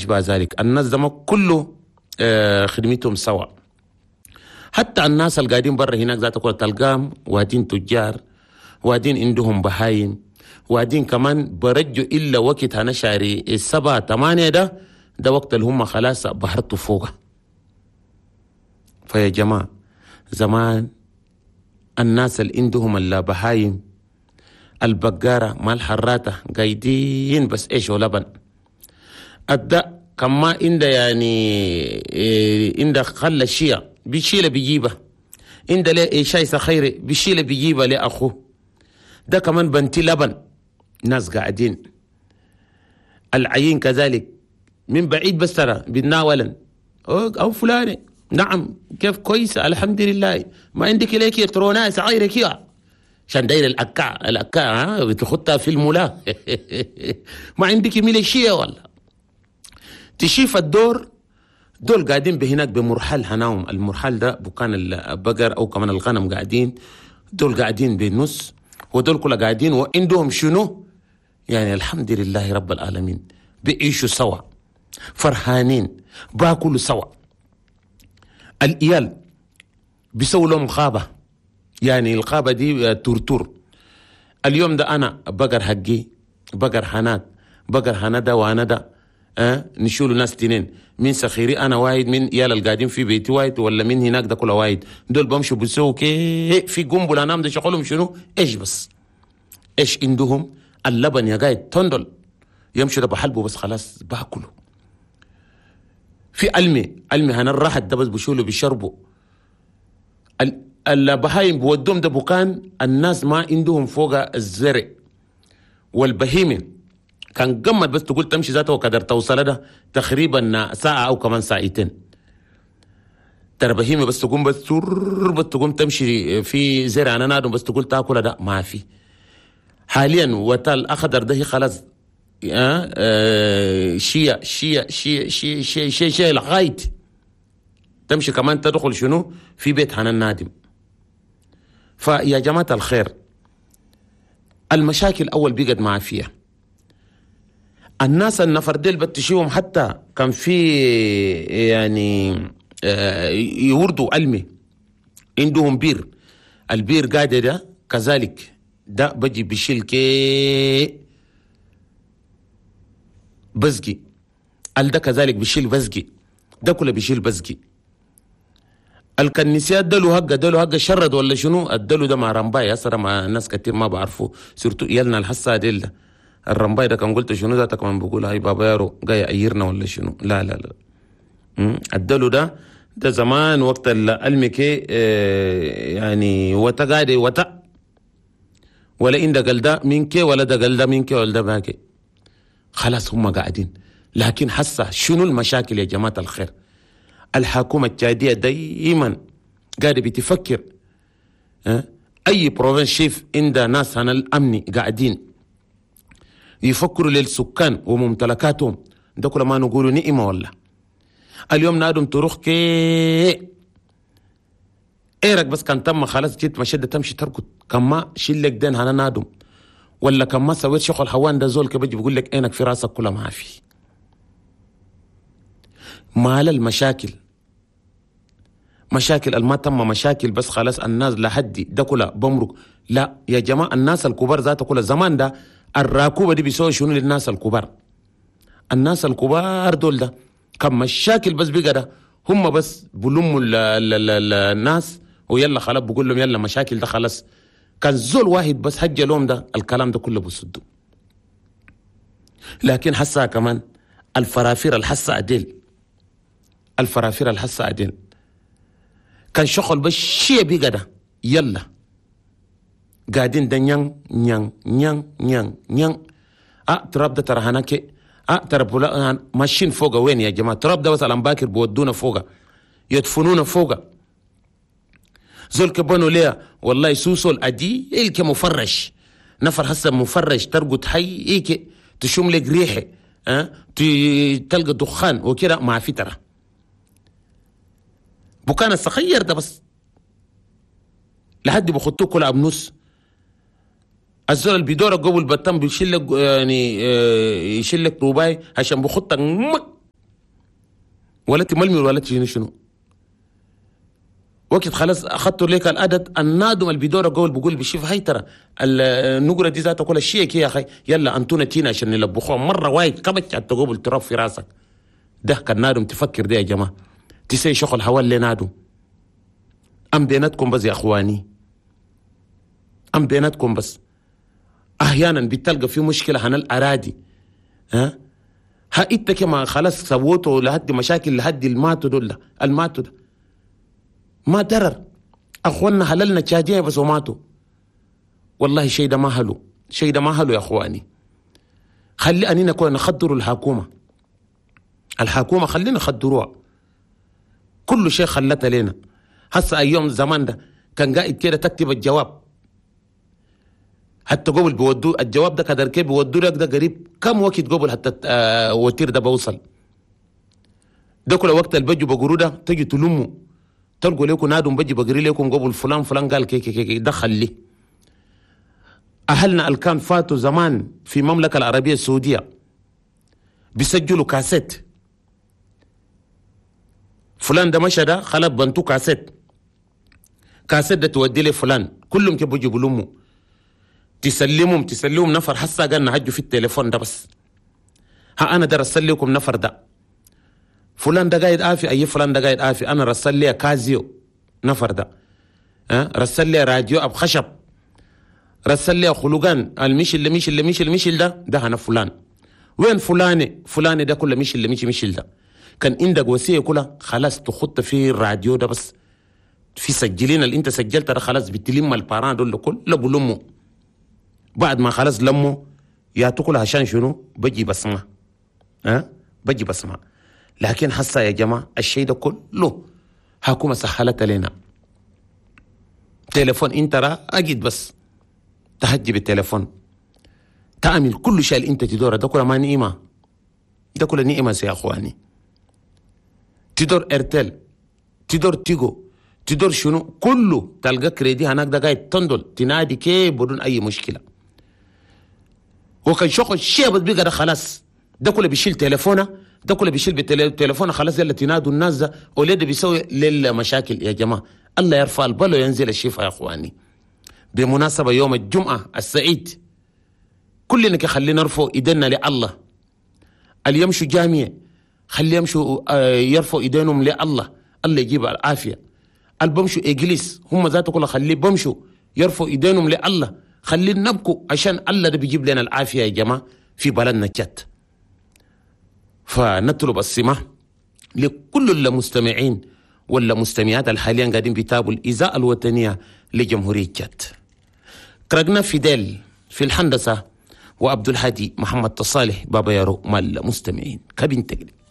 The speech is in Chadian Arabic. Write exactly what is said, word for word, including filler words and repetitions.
أشبه ذلك. الناس ده ما كله آه، خدمتهم سوا. حتى الناس اللي قاعدين برا هناك ذات كل تلقام وادين تجار، وادين عندهم بهايم، وادين كمان برجوا إلا وقت أنا شاري السبعة ثمانية ده ده وقت اللي هم خلاص بحرتوا فوقه. فيا جماعة زمان الناس اللي عندهم البهايم البقارة مال حراتة قايدين بس إيش ولبن أدى كما عند يعني إيه عند خلى الشيء بيشيله بيجيبه، عند ليه شاي سخيري بيشيله بيجيبه لأخوه، ده كمان بنتي لبن. ناس قاعدين العين كذلك من بعيد بس ترى بيتناولا أو فلانة نعم كيف كويسة الحمد لله، ما عندك ليك تروناس صغيرة كده عشان داير الأكاع الأكاع ها بتخطها في الملا ما عندك ميليشيا ولا تشيف الدور. دول قاعدين بهناك بمرحل هناهم، المرحل ده بكان البقر أو كمان الغنم قاعدين، دول قاعدين بالنص ودول كلها قاعدين وعندهم شنو يعني الحمد لله رب العالمين بيعيشوا سوا فرحانين باكلوا سوا. الإيال بيسووا لهم غابة، يعني الغابة دي تورتور. اليوم ده أنا بقر حقي بقر حنات بقر حندا وأنا ده أه؟ نشيلوا ناس تنين من سخيري أنا واحد، من إيال القاعدين في بيتي واحد، ولا من هناك ده كله واحد. دول بمشوا بيسووا كي في قنبلة نام ده شغلهم شنو إيش بس إيش عندهم اللبن يا قاعد تندل يمشوا ده بحلبه بس خلاص باكله. في ألمي ألمي هنا الراحة ده بس بشولوا بيشربوا. البهايم بودهم ده بكان الناس ما عندهم فوق الزرع والبهيمة كان قمت بس تقول تمشي ذاته وقدر توصل ده تقريبا ساعة أو كمان ساعتين. ترى بهيمة بس تقوم بس بس تقوم تمشي في زرع أنا نادم بس تقول تاكل ده ما في. حاليا وتال أخضر ده خلاص آه آه شيء شيء شيء شيء شيء شيء شيء لغاية تمشي كمان تدخل شنو في بيت حنان نادم. فيا جماعة الخير المشاكل أول بيقعد مع فيها الناس النفر ديل بتشيهم، حتى كان في يعني آه يوردوا علمي عندهم بير، البير قاعد ده كذلك ده بجي بشيل كي بزقي، ال ده كذلك بشيل بزقي، ده كله بشيل بزقي. الكنيسيات دلو هقة دلو هقة شرد ولا شنو الدلو ده مع رمباي أسرع مع ناس كتير ما بعرفه سيرتو يلنا الحصة ديل ده الرمباي ده كان قلت شنو ذاتك كمان بقول هاي بابا يارو جاي أيرنا ولا شنو لا لا لا الدلو ده ده زمان وقت المكي يعني وتا قاعد وتا ولا إن ده قال ده منك ولا ده قال ده منك ولا ده باكي خلاص هم قاعدين. لكن حسه شنو المشاكل يا جماعة الخير؟ الحكومة التشادية دايما قاعدة بتفكر أه؟ أي province chef عند ناس هنا الأمني قاعدين يفكروا للسكان وممتلكاتهم ده كل ما نقولوا نئمة والله. اليوم نادم تروح كي ايرك بس كان تم خلاص جيت مشدة تمشي تركض كما شيل لك دين هنا نادم ولا كما سويت شغل حوان ده زول كبجي بيقول لك عينك في راسك كلها ما في. مال المشاكل مشاكل الما تم مشاكل بس خلاص الناس لحدي ده كلها بمرق. لا يا جماعة الناس الكبار ذاته كلها زمان ده الراكوبة دي بيسوي شنو للناس الكبار؟ الناس الكبار دول ده كم مشاكل بس بقى ده هم بس بلموا الناس ويلا خلاص بقول لهم يلا مشاكل ده خلاص. كان زول واحد بس حج لهم ده الكلام ده كله بسدوا. لكن حسها كمان الفرافير الحسة عديل الفرافير الحسة عديل كان شغل بس شيء بقى ده يلا قاعدين ده نيان نيان نيان نيان نيان اه تراب ده ترى هناك اه ترى بولا ماشيين فوق وين يا جماعه؟ تراب ده بس الامباكر بودونا فوق يدفنونا فوق زول كبنوا ليه والله سوسو الادي الك مفرش نفر هسه مفرش ترقد حي ايك تشم لك ريحه اه تلقى دخان وكده مع فتره بكان الصغير ده بس لحد بخطوه كل ابنص الزول اللي بيدور قبل بتم بيشيل لك يعني يشيل لك رباي عشان بخطك مك ولا تململ ولا تشنو شنو وقت خلاص اخذتوا لك العدد النادم اللي بيدور قول بقول بشوف هاي ترى النقره دي ذاتها كل شيء يا اخي يلا انتونا تينا عشان نلبخوها مرة وايد كبت تقوبل تراب في راسك. ده كان نادم تفكر ده يا جماعة تسي شغل هوا اللي نادم. ام بيناتكم بس يا اخواني، ام بيناتكم بس. احيانا بتلقى في مشكلة هنا الاراضي، ها ها انت كما خلاص سووته لهدي مشاكل لهدي الماتوا دول الماتوا ده ما درر اخواننا هللنا تشاجيه بس وماتوا. والله شيء ده ما هلو، شيء ده ما هلو يا اخواني. خلي اننا كنا نخدروا الحكومة، الحكومة خلينا نخدروها كل شيء خلتها لنا. هسه ايام زمان ده كان قاعد كده تكتب الجواب حتى قبل بيودوا الجواب ده كدر كيف بيودوا لك ده قريب كم وقت قبل حتى آه وتير ده بوصل ده كل وقت البجو بقروا ده تجي تلموا تلقوا لكم نادم بجي بقري لكم قبل فلان فلان قال كي كي كي دخل لي. اهلنا الكان فاتوا زمان في المملكة العربية السعودية بيسجلوا كاسيت، فلان ده مشى ده خلط بنتو كاسيت، كاسيت ده تودي لي فلان كلهم كيف بيجوا بلموا تسلمهم تسلمهم نفر. حسا قالنا هجوا في التليفون ده بس ها انا ده رسل لكم نفر ده فلان ده قاعد آفي اي فلان ده قاعد آفي انا رسل لي كازيو نفر ده ها رسل لي راديو اب خشب رسل لي خلقان المش اللي مش اللي مش اللي مش ده ده انا فلان وين فلاني فلاني ده كله مش اللي مش مش ده كان عندك وصية كلها خلاص تخط في الراديو ده بس في سجلين اللي انت سجلت ده خلاص بتلم الباران دول كله بلموا بعد ما خلاص لموا يا تقول عشان شنو بجي بسمع ها بجي بسمع. لكن حسا يا جماعة الشيء ده كله حكومة سهلت لنا تليفون انت را اجد بس تهجي بالتليفون تعمل كل شيء اللي انت تدوره ده كله ما نعمه، ده كله نعمه يا اخواني. تدور ارتل تدور تيجو تدور شنو كله تلقى كريدي هناك ده قاعد تندل تنادي كيف بدون اي مشكلة. وكان شغل شيء بس بقى ده خلاص ده كله بيشيل تليفونه ده كله بيشيل بالتليفون خلاص يلا تنادوا الناس ده ولاد بيسوي للمشاكل يا جماعة. الله يرفع البلو ينزل الشفاء يا اخواني. بمناسبة يوم الجمعة السعيد كلنا خلينا نرفع ايدينا لله. اللي يمشوا جامع خلي يمشوا يرفعوا ايدينهم لله الله يجيب العافية. اللي بمشوا اجلس هم ذاته كله خليه بمشوا يرفعوا ايدينهم لله خلينا نبكوا عشان الله ده بيجيب لنا العافية يا جماعة في بلدنا جت. فنطلب السماح لكل المستمعين ولا مستمعات الحاليا قاعدين بيتابعوا الإذاعة الوطنية لجمهورية جت. كرقنا فيديل في الهندسة وعبد الهادي محمد تصالح بابا يارو مال المستمعين كابين تقريب.